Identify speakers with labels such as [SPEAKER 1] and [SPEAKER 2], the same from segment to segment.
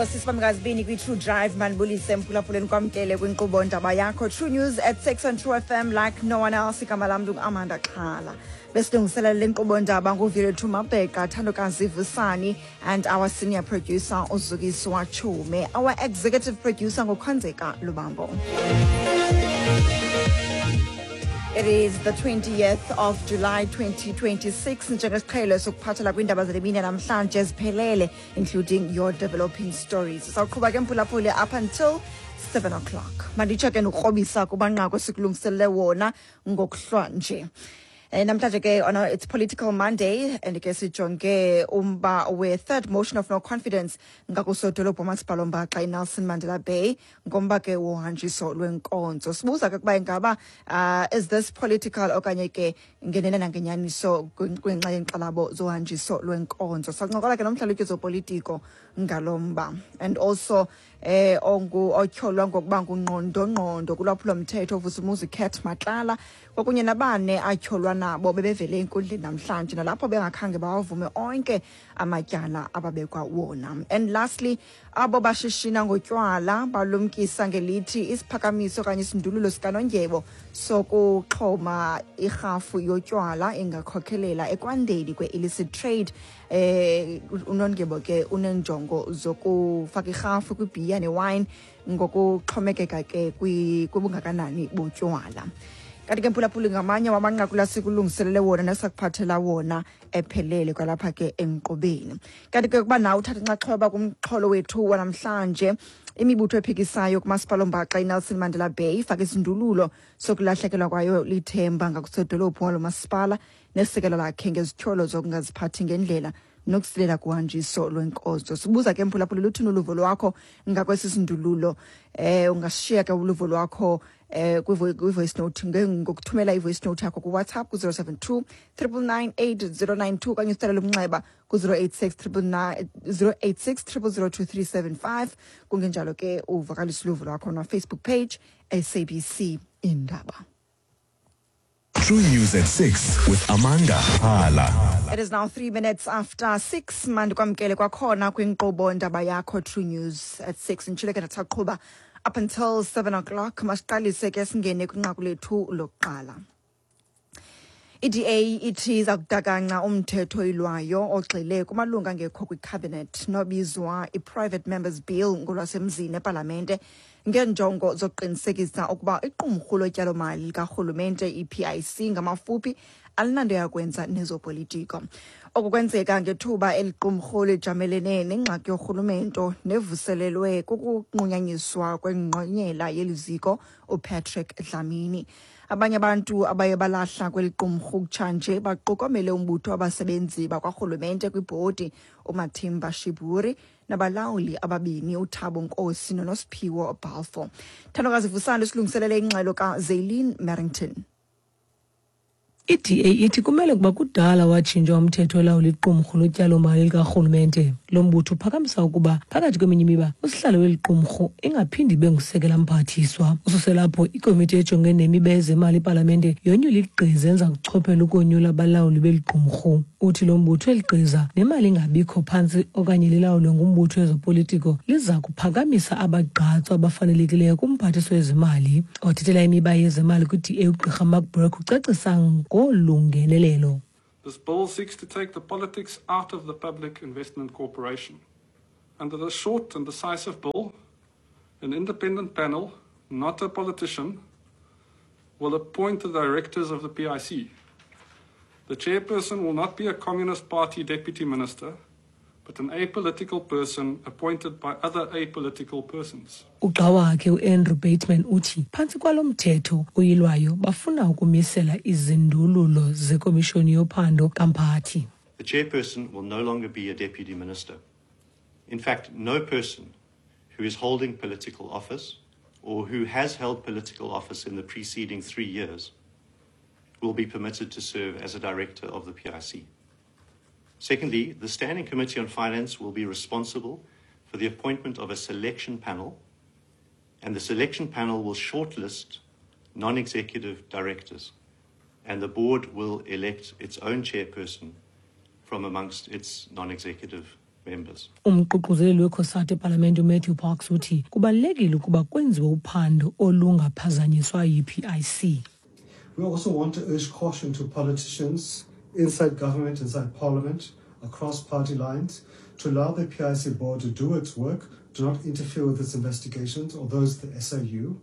[SPEAKER 1] Enkosi sibamkazibini kwi-True Drive. Mandibulise mphulaphuleni, kwamkele kwinkqubo ndaba yakho True News at 6 on True FM like no one else. Igama lam ndingu-Amanda Xhala. Besilungiselela le nkqubo ndaba nguVilethu Mabheka, Thandokazi Vusani and our senior producer uZukiswa Chume. Our executive producer nguKhonzeka Lubambo. It is the 20th of July 2026. Njengesiqhelo sokuphathela kwiindaba zale mini namhlanje eziphelele, including your developing stories. Sawuqhuba ke mphulaphuli up until 7 o'clock. Manditsho ke nokukrobisa kumanqaku esikulungiselele wona ngokuhlwa nje. Namhlanje ke on it's Political Monday and ke sijonge umba we-third motion of no confidence ngakusodolophu umasipala ombaxa iNelson Mandela Bay ngomba ke wohanjiso lwenkonzo. Sibuza ke ukuba ingaba is this political okanye ke ngenene nangenyaniso kwinxa yenkxalabo zohanjiso lwenkonzo. Sancokola ke nomhlalutyi zopolitiko ngalo mba. And also ongu otyholwa ngokuba ngungqondongqondo kulwaphulomthetho uVusumuzi Cat Matlala kwakunye nabane atyholwa nabo bebevele enkundleni namhlanje nalapho bengakhange bawavume onke amatyala ababekwa wona. And lastly, abo bashishina ngotywala balumkisa ngelithi isiphakamiso okanye isindululo sikanondyebo sokuxhoma irhafu yotywala ingakhokhelela ekwandeni kwe-illicit trade. Unondyebo ke unenjongo zokufaka irhafu kwibhiya newine ngokuxhomekeka ke kwibungakanani botywala. Kanti ke mphulaphuli, ngamanye wamanqaku lasikulungiselele wona nesakuphathela wona ephelele kwalapha ke enkqubeni. Kanti ke kuba nawe uthatha inxaxheba kumxholo wethu wanamhlanje, imibutho ephikisayo kumasipala ombaxa iNelson Mandela Bay ifake isindululo sokulahlekelwa kwayo lithemba ngakusodolophu walo masipala nesekela lakhe ngezityholo zokungaziphathi ngendlela nokusilela kuhanjiso lwenkonzo. Sibuza ke mphulaphuli, luthini uluvo lwakho ngakwesi sindululo? Ungashiya ke uluvo lwakho kwi-voice note ngokuthumela i-voice note yakho ku-WhatsApp ku-072 999 8092 okanye usitsalele umnxeba ku-086 999 086 0002375. Kungenjalo ke uvakalisa uluvo lwakho na-Facebook page SABC Indaba.
[SPEAKER 2] True News at 6 with Amanda Hala.
[SPEAKER 1] It is now 6:03. Mandikwamkele kwakhona kwinkqubo ndaba yakho True News at 6. Nditshile ke ndathaqhuba up until 7 o'clock. Masiqalise ke singene kwinqaku lethu lokuqala. I-DA ithi iza kudakanca umthetho oyilwayo ogxile kumalungu angekho kwicabinet nobizwa i-Private Members Bill ngolwasemzini epalamente ngeenjongo zokuqinisekisa ukuba iqumrhu lotyalomali likarhulumente i-PIC ngamafuphi alinanto yakwenza nezopolitiko. Oku kwenzeka ngethuba eli qumrhu lijamelene nengxaki yorhulumento nevuselelwe kukunqunyanyiswa kwengqonyela yeli ziko uPatrick Dlamini. Abanye abantu abaye balahla kweli qumrhu kutshanje baqukomele umbutho wabasebenzi bakwarhulumente kwibhodi uMathimba Shiburi nabalawuli ababini uThabo Nkosi noNosiphiwo Balfour. Thandokazi Vusani silungiselele ingxelo kaZaylene Merrington.
[SPEAKER 3] I-DA ithi kumele ukuba kudala watshintshwa umthetho olawula iqumrhu lotyalomali likarhulumente. Lo mbutho uphakamisa ukuba phakathi kweminye imiba usihlalo weli qumrhu ingaphindi ibe ngusekela mphathiswa. Ususela apho ikomiti ejongene nemiba yezemali epalamente yonyula igqiza enza kuchophela ukonyula abalawuli beli qumrhu. Uthi lo mbutho eli gqiza nemali ingabikho phantsi okanye lilawulwe ngumbutho wezopolitiko liza kuphakamisa abagqatswa abafanelekileyo kumphathiswa wezimali. Othethela imiba yezemali kwi-DA ugqirha Mark Burke ucacisa ngolungenelelo.
[SPEAKER 4] This bill seeks to take the politics out of the Public Investment Corporation. Under this short and decisive bill, an independent panel, not a politician, will appoint the directors of the PIC. The chairperson will not be a Communist Party deputy minister, but an apolitical person appointed by other apolitical persons.
[SPEAKER 3] Ugxa wakhe uAndrew Bateman uthi phantsi kwalo mthetho uyilwayo bafuna ukumisela izindululo zekomishoni yophando kamphathi.
[SPEAKER 5] The chairperson will no longer be a deputy minister. In fact, no person who is holding political office or who has held political office in the preceding 3 years will be permitted to serve as a director of the PIC. Secondly, the Standing Committee on Finance will be responsible for the appointment of a selection panel, and the selection panel will shortlist non-executive directors, and the board will elect its own chairperson from amongst its non-executive members.
[SPEAKER 3] Umququzeleli weCOSATU epalamente uMatthew Parks uthi kubalulekile ukuba kwenziwe uphando olungaphazanyiswa yi-PIC.
[SPEAKER 6] We also want to urge caution to politicians inside government, inside parliament, across party lines, to allow the PIC board to do its work, do not interfere with its investigations or those of the SIU.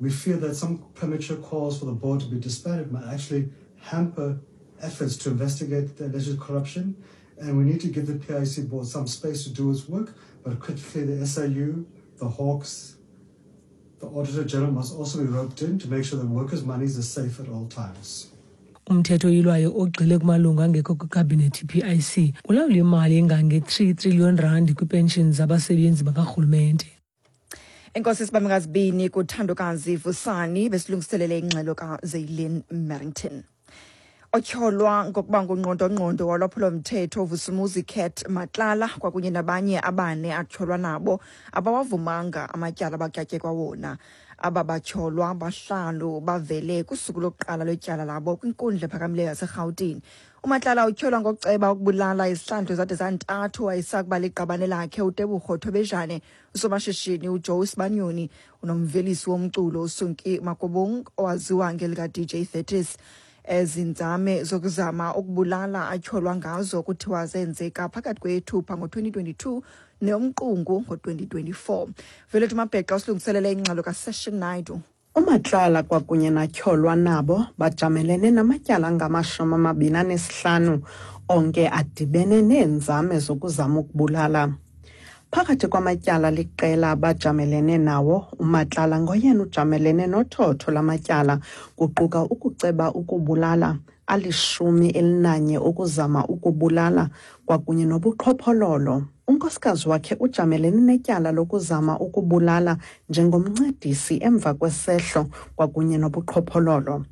[SPEAKER 6] We fear that some premature calls for the board to be disbanded might actually hamper efforts to investigate the alleged corruption, and we need to give the PIC board some space to do its work, but critically the SIU, the Hawks, the Auditor General must also be roped in to make sure that workers' monies are safe at all times.
[SPEAKER 3] Umthetho oyilwayo ogxile kumalungu angekho kwikhabhinethi PIC ulawula imali engange-3 trillion rand kwiipenshini zabasebenzi bakarhulumente.
[SPEAKER 1] Enkosi sibambe ngazibini kuthandokazi Vusani besilungiselele ingxelo kaZaylin Merrington. Otyholwa ngokuba ngungqondongqondo wolwaphulo-mthetho Vusumuzi Cat Matlala kwakunye nabanye abane atyholwa nabo abawavumanga amatyala abakyatyekwa wona. Aba batyholwa bahlanu bavele kusuku lokuqala lwetyala labo kwinkundla ephakamileyo yaseRhawutini. UMatlala utyholwa ngokuceba ukubulala izihlandlo zade zantathu wayesakuba liqabane lakhe uTebogo Thobejane, usomashishini uJoe Sibanyoni, unomvelisi womculo uSunki Makobong owaziwa ngelika-DJ 30s. Ezi nzame zokuzama ukubulala atyholwa ngazo kuthiwa zenzeka phakathi kweyeThupha ngo-2022 neyoMqungu ngo-2024. Velethu Mabhexa usilungiselele ingxelo kaSession Naidu.
[SPEAKER 7] UMatlala kwakunye natyholwa nabo bajamelene namatyala angama-25, onke adibene neenzame zokuzama ukubulala. Phakathi kwamatyala liqela abajamelene nawo, uMatlala ngoyena ujamelene nothotho lamatyala, kuquka ukuceba ukubulala, ali-11 ukuzama ukubulala kwakunye nobuqhophololo. Unkosikazi wakhe ujamelene netyala lokuzama ukubulala njengomncedisi emva kwesehlo kwakunye nobuqhophololo.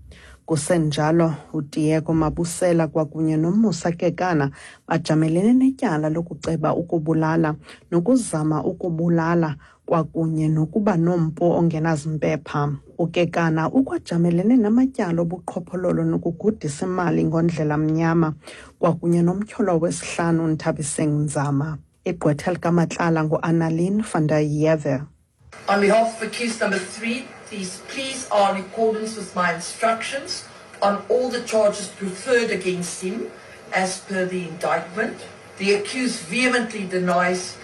[SPEAKER 7] Kusenjalo, uTiego Mabusela kwakunye noMusa Kekana bajamelene netyala lokuceba ukubulala nokuzama ukubulala kwakunye nokuba nompu ongenazimpepha. UKekana ukwajamelene namatyala obuqhophololo nokugudisa imali ngondlela mnyama kwakunye nomtyholwa wesihlanu Nthabiseng Nzama. Igqwetha likaMatlala nguAnnalien van der Heever.
[SPEAKER 8] On behalf of accused number 3, these pleas are in accordance with my instructions on all the charges preferred against him as per the indictment. The accused vehemently denies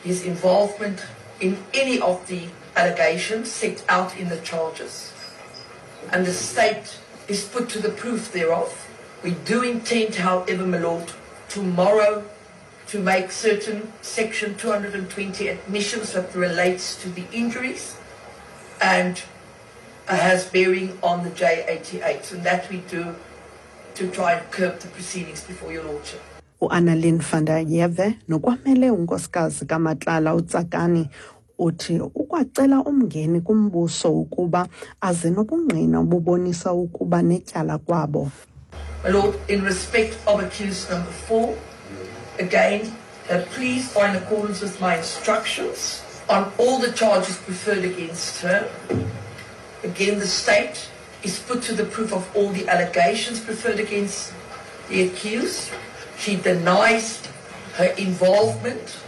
[SPEAKER 8] his involvement in any of the allegations set out in the charges, and the state is put to the proof thereof. We do intend, however, my lord, tomorrow to make certain Section 220 admissions that relates to the injuries and has bearing on the J88, and that we do to try and curb the proceedings before your lordship.
[SPEAKER 7] UAnnalien van der Heever nokwamele unkosikazi kaMatlala uTsakani uthi ukwacela umngeni kumbuso ukuba aze nobungqina obubonisa ukuba netyala kwabo.
[SPEAKER 8] My lord, in respect of accused number 4, again, please are in accordance with my instructions on all the charges preferred against her. Again, the state is put to the proof of all the allegations preferred against the accused. She denies her involvement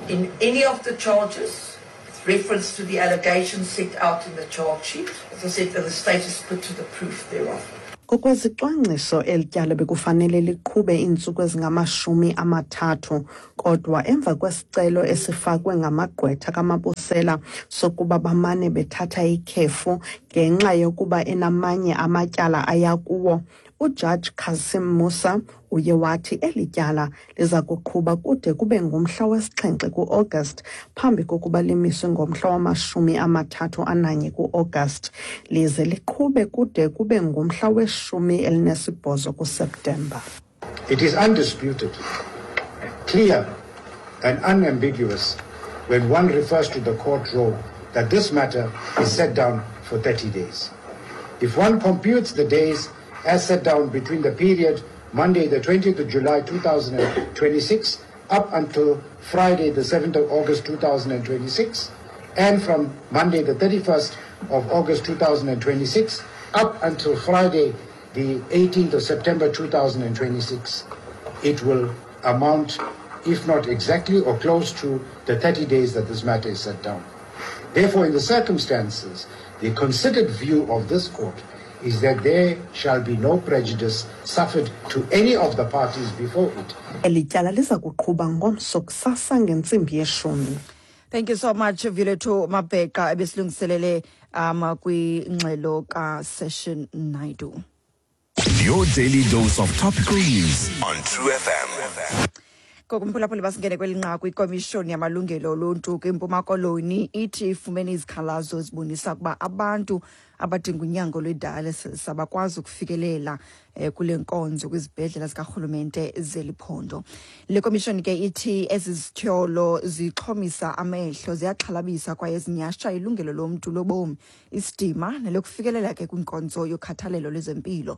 [SPEAKER 8] in any of the charges with reference to the allegations set out in the charge sheet. As I said, the state is put to the proof thereof.
[SPEAKER 7] Ngokwezicwangciso eli tyala bekufanele liqhube iintsuku ezingama-30, kodwa emva kwesicelo esifakwe ngamagqwetha kaMabusela sokuba bamane bethatha ikhefu ngenxa yokuba enamanye amatyala aya kuwo, uJudge Cassim Musa uye wathi eli tyala liza kuqhuba kude kube ngumhla wesi-7 ku-August phambi kokuba limiswe ngomhla wama-31 ku-August, lize liqhube kude kube ngumhla we-18 kuSeptemba.
[SPEAKER 9] It is undisputed, clear and unambiguous when one refers to the court roll that this matter is set down for 30 days. If one computes the days as set down between the period Monday the 20th of July 2026 up until Friday the 7th of August 2026, and from Monday the 31st of August 2026 up until Friday the 18th of September 2026, it will amount if not exactly or close to, the 30 days that this matter is set down. Therefore, in the circumstances, the considered view of this court is that there shall be no prejudice suffered to any of the parties before it.
[SPEAKER 7] Eli tyala liza kuqhuba ngomso kusasa ngentsimbi yeshumi.
[SPEAKER 1] Thank you so much, Violetto Mabheka, ebesilungiselele kwingxelo kaSession Naidu.
[SPEAKER 2] Your daily dose of topical news on True FM.
[SPEAKER 1] Ngokumphulaphuli, basingene kweli nqaku. Ikomishoni yamalungelo oluntu kwiMpuma Koloni ithi ifumene izikhalazo ezibonisa ukuba abantu abadinga unyango lwe-dialysis abakwazi ukufikelela kule nkonzo kwizibhedlela zikarhulumente zeli phondo. Le komishoni ke ithi ezi zityholo zixhomisa amehlo, ziyaxhalabisa kwaye zinyhasha ilungelo lomntu lobomi, isidima nelokufikelela ke kwinkonzo yokhathalelo lwezempilo.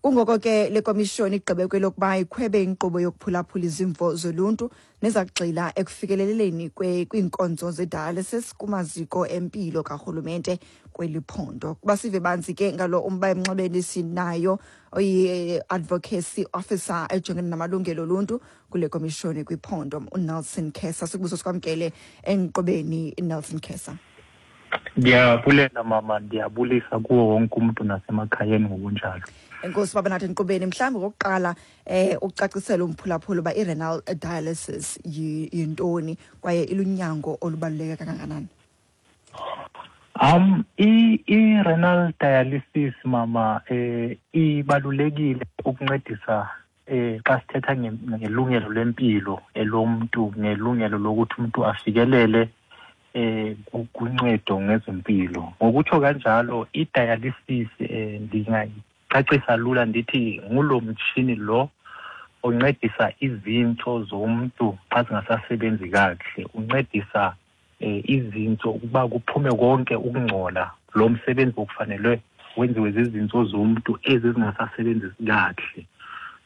[SPEAKER 1] Kungoko ke le komishoni igqibe kwelokuba ikhwebe inkqubo yokuphulaphula izimvo zoluntu neza kugxila ekufikeleleni kwiinkonzo ze-dialysis kumaziko empilo karhulumente kweli phondo. Kuba sive banzi ke ngalo umba emnxebeni, sinayo oyi-advocacy officer ejongene namalungelo oluntu kule komishoni kwiphondo, uNelson Kesa. Sikubuso sikwamkele enkqubeni, Nelson Kesa.
[SPEAKER 10] Ndiyabulela, mama, ndiyabulisa kuwo wonke umuntu nasemakhayeni ngokunjalo.
[SPEAKER 1] Enkosi baba nathi enkqubeni. Mhlawumbi okokuqala ucacisele umphulaphula uba i-renal dialysis yintoni kwaye ilunyango olubaluleke kangakanani.
[SPEAKER 10] I-renal dialysis, mama, ibalulekile ukuncedisa xa sithetha ngelungelo lempilo elomntu, ngelungelo lokuthi umuntu afikelele kuncedo ngezempilo. Ngokutsho kanjalo, i-dialysis ndingayicacisa lula ndithi ngulo mtshini lo oncedisa izintso zomntu xa zingasasebenzi kakuhle, uncedisa izintso ukuba kuphume konke ukungcola, lo msebenzi okufanelwe wenziwe zizintso zomntu ezi zingasasebenzi kakuhle.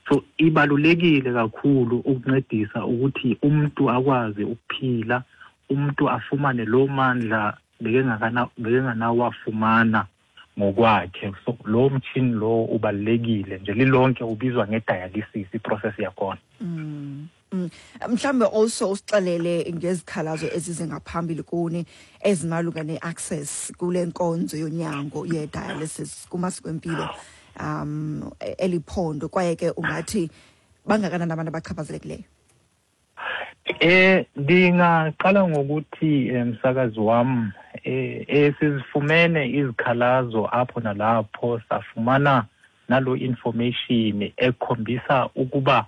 [SPEAKER 10] So ibalulekile kakhulu ukuncedisa ukuthi umuntu akwazi ukuphila, umuntu afumane lo mandla bekenganawafumana ngokwakhe. So lo mtshini lo ubalulekile nje, lilonke ubizwa nge-dialysis i-process yakhona.
[SPEAKER 1] Mhlawumbe also usixelele ngezikhalazo ezize ngaphambili kuni ezimalunga ne-access kule nkonzo yonyango ye-dialysis kumaziko empilo eliphondo, kwaye ke ungathi bangakanani abantu abachaphazelekileyo?
[SPEAKER 10] Ndingaqala ngokuthi, msakazi wam, sizifumene izikhalazo apho nalapho, safumana nalo information ekhombisa ukuba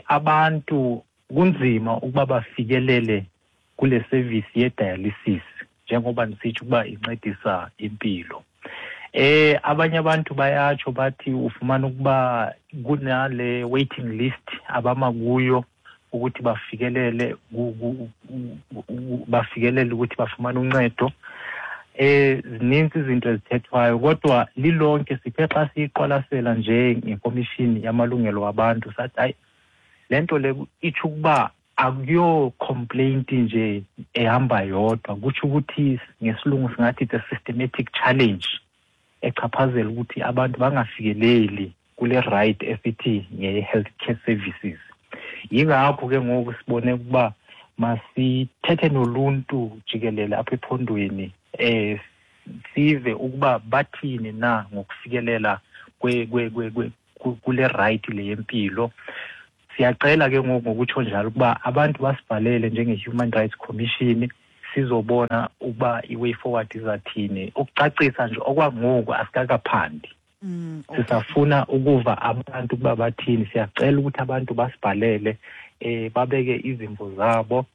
[SPEAKER 10] abantu kunzima ukuba bafikelele kule service ye-dialysis, njengoba ndisitsho ukuba incedisa impilo. Abanye abantu bayatsho bathi ufumana ukuba kunale waiting list abama kuyo ukuthi bafikelele ukuthi bafumane uncedo. Zininzi izinto ezithethwayo, kodwa lilonke sithe xa siyiqwalasela nje ngekomishini yamalungelo wabantu sathi hayi, le nto le itsho ukuba akuyo complaint nje ehamba yodwa, kutsho ukuthi ngesilungu singathi it's a systematic challenge echaphazela ukuthi abantu bangafikeleli kule right esithi nge-healthcare services. Yingakho ke ngoku sibone ukuba masithethe noluntu jikelele apha ephondweni, sive ukuba bathini na ngokufikelela kule right le yempilo. Siyacela ke ngoku ngokutsho njalo ukuba abantu basibhalele njenge-Human Rights Commission, sizobona ukuba i-way forward izathini. Ukucacisa nje, okwangoku asikakaphandi. Sisafuna ukuva abantu ukuba bathini. Siyacela ukuthi abantu basibhalele, babeke izimvo zabo,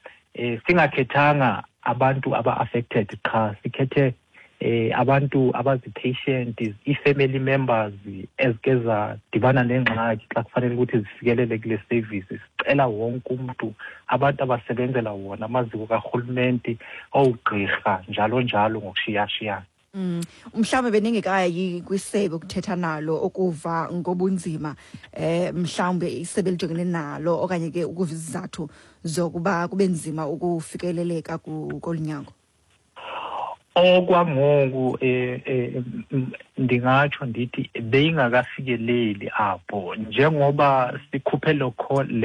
[SPEAKER 10] singakhethanga abantu aba-affected qha, sikhethe abantu abazi-patient, i-family members ezike zadibana nengxaki xa kufanele ukuthi zifikelele kule service. Sicela wonke umuntu, abantu abasebenzela wona amaziko karhulumente, oogqirha, njalo njalo, ngokushiyashiyana.
[SPEAKER 1] Mhlawumbe beningekayi kwisebe ukuthetha nalo ukuva ngobunzima mhlawumbe isebe elijongene nalo, okanye ke ukuva izizathu zokuba kube nzima ukufikeleleka kolu nyango?
[SPEAKER 10] Okwangoku ndingatsho ndithi beyingakafikeleli apho, njengoba sikhuphe le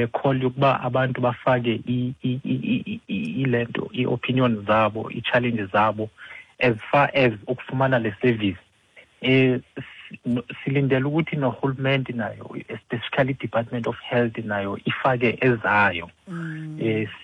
[SPEAKER 10] call yokuba abantu bafake ilento, i-opinion zabo, i-challenge zabo as far as ukufumana le service. Silindele ukuthi nohulumende nayo, especially Department of Health, nayo ifake ezayo,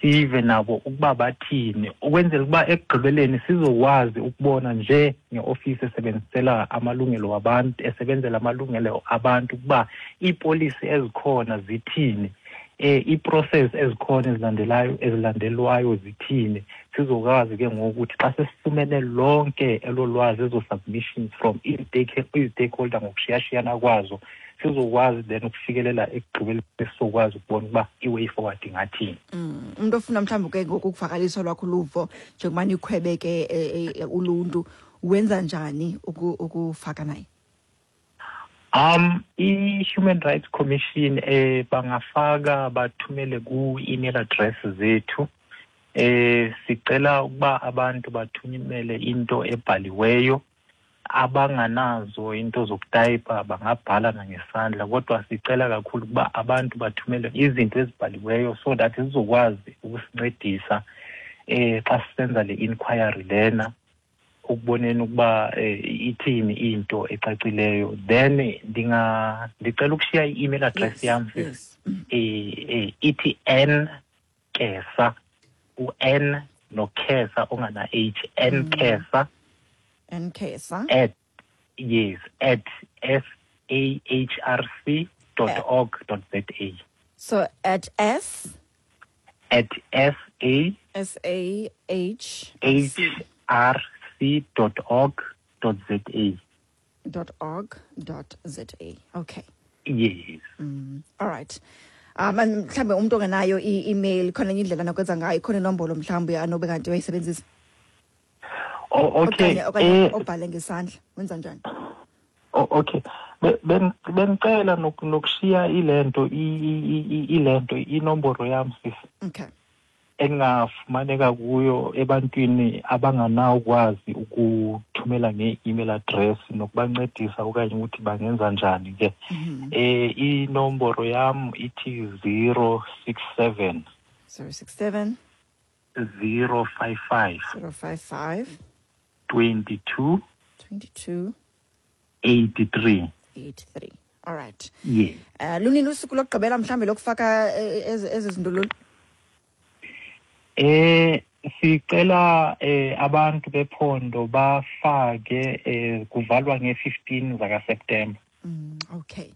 [SPEAKER 10] sive nabo ukuba bathini, ukwenzela ukuba ekugqibeleni sizokwazi ukubona nje ngeofisi esebenzisela amalungelo wabantu, esebenzela amalungelo abantu, ukuba iipolisi ezikhona zithini, i-process ezikhona ezilandelayo, ezilandelwayo zithini. Sizokwazi ke ngoku ukuthi xa sesifumene lonke elo lwazi, ezo submissions from ii-stakeholder ngokushiyashiyana kwazo, sizokwazi then ukufikelela ekugqibeleni, sizokwazi ukubona ukuba i-way forward ingathini.
[SPEAKER 1] Umuntu ofuna mhlawumbi ke ngoku ukuvakalisa lwakho luvo njengoba nikhwebe ke uluntu, wenza njani ukufaka naye?
[SPEAKER 10] I-Human Rights Commission, bangafaka, bathumele ku-email address zethu. Sicela ukuba abantu bathumele into ebhaliweyo. Abanganazo into zokutayipa bangabhala nangesandla, kodwa sicela kakhulu ukuba abantu bathumele izinto ezibhaliweyo so that zizokwazi ukusincedisa xa sisenza le inquiry lena, ukuboneni ukuba ithini into ecacileyo. Then ndicela ukushiya i-email address yam. Ithi N Kesa, u-N noKesa ongana H, N Kesa.
[SPEAKER 1] N Kesa.
[SPEAKER 10] At, yes, @sahrc.org.za.
[SPEAKER 1] So at S
[SPEAKER 10] At S A
[SPEAKER 1] S A H
[SPEAKER 10] H R C.org.za.
[SPEAKER 1] .org.za. Okay.
[SPEAKER 10] Yes.
[SPEAKER 1] All right. Mhlambe umuntu ongenayo i-email, khona enye indlela nokwenza ngayo, khona inombolo mhlawumbe anobe kanti uyayisebenzisa?
[SPEAKER 10] Oh, okay.
[SPEAKER 1] Okanye obhale ngesandla, wenza njani?
[SPEAKER 10] Oh, okay. Bengicela nokushiya ilento inomboro yam, sisi.
[SPEAKER 1] Okay.
[SPEAKER 10] Engafumaneka kuyo ebantwini abanganawukwazi ukuthumela nge-email address, nokubancedisa okanye ukuthi bangenza njani ke. Inomboro yam ithi 067
[SPEAKER 1] 067
[SPEAKER 10] 055
[SPEAKER 1] 055
[SPEAKER 10] 22
[SPEAKER 1] 22
[SPEAKER 10] 83.
[SPEAKER 1] 83. All right.
[SPEAKER 10] Yes.
[SPEAKER 1] Lunini usuku lokugqibela mhlambe lokufaka ezi zindululo?
[SPEAKER 10] Sicela abantu bephondo bafake, kuvalwa nge-15 zaka September.
[SPEAKER 1] Okay.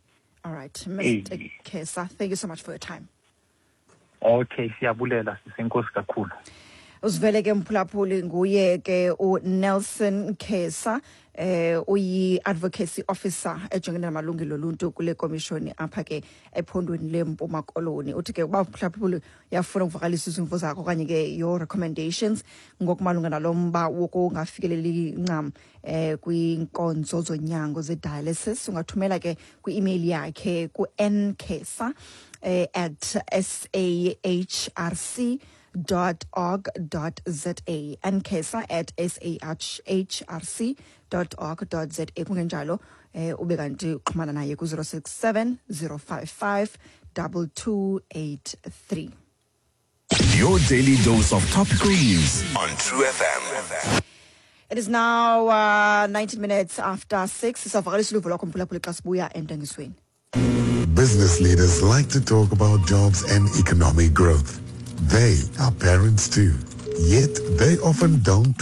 [SPEAKER 1] All right. Mr. Kesa, thank you so much for your time.
[SPEAKER 10] Okay, siyabulela sisenkosi kakhulu.
[SPEAKER 1] Uzivele ke mphulaphuli, nguye ke uNelson Kesa, uyi-advocacy officer ejongene namalungelo oluntu kule komishoni apha ke ephondweni leMpuma Koloni. Uthi ke uba mphulaphuli uyafuna ukuvakalisa izimvo zakho okanye ke your recommendations ngokumalunga nalo mba wokungafikeleli ncam kwiinkonzo zonyango ze-dialysis, ungathumela ke kwi-email yakhe ku-nkesa @sahrc.org.za, nkesa@sahrc.org.za. Kungenjalo ube kanti uxhumana naye ku-067 055 2283.
[SPEAKER 2] Your daily dose of topical news on True FM.
[SPEAKER 1] It is now 19 minutes after 6. Sisavakalisa uluvo lwakho mphulaphuli xa sibuya entengisweni.
[SPEAKER 11] Business leaders like to talk about jobs and economic growth. They are parents too. Yet they often don't talk